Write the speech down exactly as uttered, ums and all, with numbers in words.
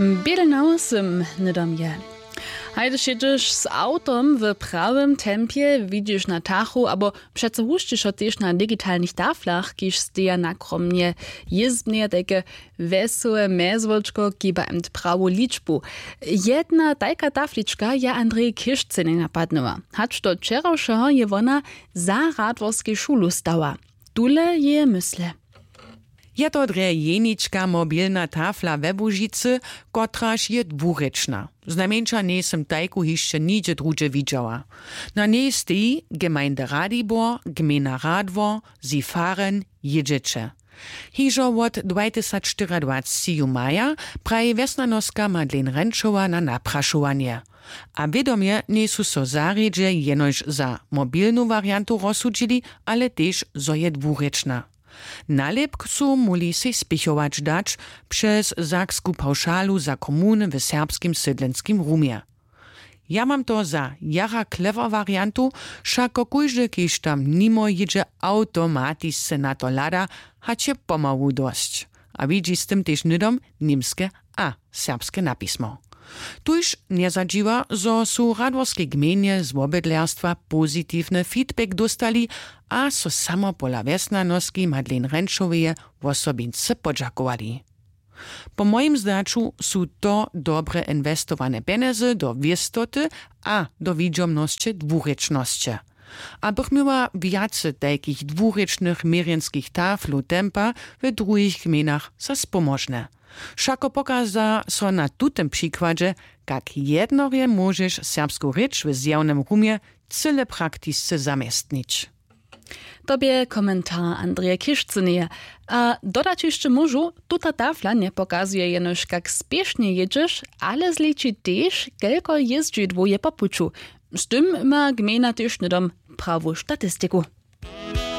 Bědelnał sym hnydom je. Hajdyž jědźeš z awtom w prawym tempje, widźiš na tachu abo přeco hušćišo tež na digitalnych taflach, kiž steja nakromnje jězbneje tajke wesołe mjezłočko, kiba ent prawu ličbu. Jedna tajka taflička je Andrej Kišcynej napadnyła. Hač do wčerawšeho je wona za radworskej šulu stała. Tule jeje mysle. Je to drje jenička mobilna tafla we Łužicy, kotraž je dwurěčna. Znajmjeńša njejsym tajku hišće nigdźe druhdźe widźała. Na njej steji: Gemeinde Radibor, gmejna Radwor, Sifaren, jědźeće. Hižo wot dwajtysacštyriadwacci ju maja, praji wjesnjanoska Madeleine Renčowa na naprašowanje. A wědomje njejsu so zarjedźe jenož za mobilnu wariantu rozsudźili, ale tež zo je dwurěčna. Nalěpk su móhli sej spěchować dać přez saksku pawšalu za komuny w serbskim sydlenskim rumje. Ja mam to za jara klewer wariantu, wšako kóždy, kiž tam nimo jědźe, awtomatisce na to hlada, hač je pomału dosć, a widźi z tym tež hnydom němske a serbske napismo. Tuž njezadźiwa, zo su w radworskej gmejnje z wobydlerstwa pozitiwny feedback dóstali a so samo pola wjesnjanoski Madeleine Renčoweje wosobince podźakowali. Po mojim zdźaću su to dobre inwestowane pjenjezy do wěstoty a do widźomnosće dwurěčnosće. A bych měła wjace tajkich dwurěčnych měrjenskich taflow tempa w druhich gmejnach za spomožne. Wšako pokaza so na tutym přikładźe, kak jednore móžeš serbsku rěč w zjawnym rumje cyle praktisce zaměstnić. To bě komentar Andreje Kišcyneje. A dodać hišće móžu, tuta tafla njepokazuje jenož, kak spěšnje jědźeš, ale zliči tež, kelko jězdźidłow je po puću. Z tym ma gmejna tež hnydom prawu statistiku.